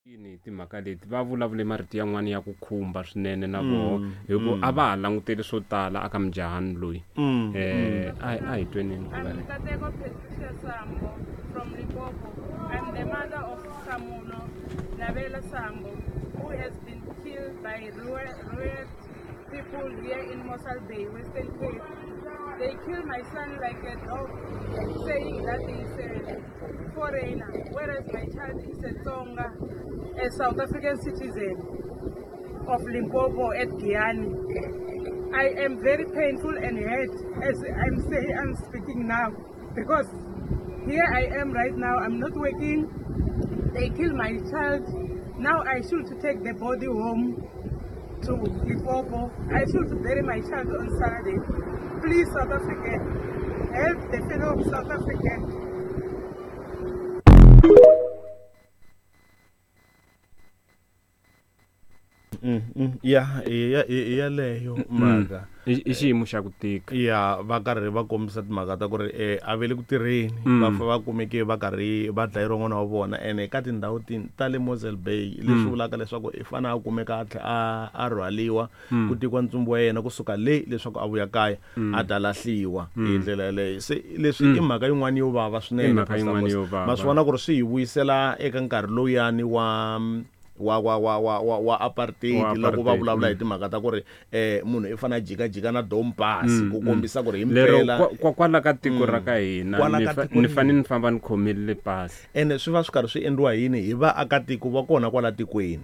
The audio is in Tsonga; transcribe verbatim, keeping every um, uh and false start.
Yini hi timhaka leti va vulavule marito yan'wana ya ku khumba swinene na voho hi ku a va ha languteli swo tala aka mujahani loyi Mm, eh a a hi tweneni ku I'm va ri Nkateko Patricia Sambo from Limpopo. I'm the mother of Samuno Nabela Sambo, who has been killed by riot riot people here in Mossel Bay, Western Cape. They killed my son like a dog, saying that he's a foreigner, whereas my child is a Tsonga, a South African citizen of Limpopo at Giyani. I am very painful and hurt as I'm saying I'm speaking now because here I am right now. I'm not working. They killed my child. Now I should take the body home to Limpopo. I should bury my child on Saturday. Please, South African, help the fellow South African. Mm, mm, ya i ya i yaleyo mhaka i i xiyimo xa ku tika ya va karhi va kombisa timhaka ta ku ri eh, a ve le ku tirheni Mm. va fa va kumeke va karhi va dlayeriwa n'wana wa vona ene ka tindhawu tin- ta le Mosel Bay leswi vulaka leswaku i fane a kumeka a tlhe a a rhwaliwa ku tekiwa ntsumbu wa yena kusuka le leswaku a vuya kaya a ta lahliwa hi ndlela yaleyo se leswi i mhaka yin'wana yo vava I swinene mhaka Pastor yin'wana Musa. yo vava. ma swi vona ku ri swi hi vuyisela eka nkarhi lowuyani wa wa wa wa wa wa wa apartheid Wa loko va apartheid, vulavula hi mm. timhaka ta ku ri eh munhu i fanele a jikajika na dompasi Mm, ku mm. kombisa ku ri lero himpela kwa- kwa- kwala ka tiko ra ka hina Kwala ni ka fa- tiko ni ri- fanele ni famba ni khomile pasi ene swi va swi karhi swi endliwa yini hi vaakatiko va kona kwala tikweni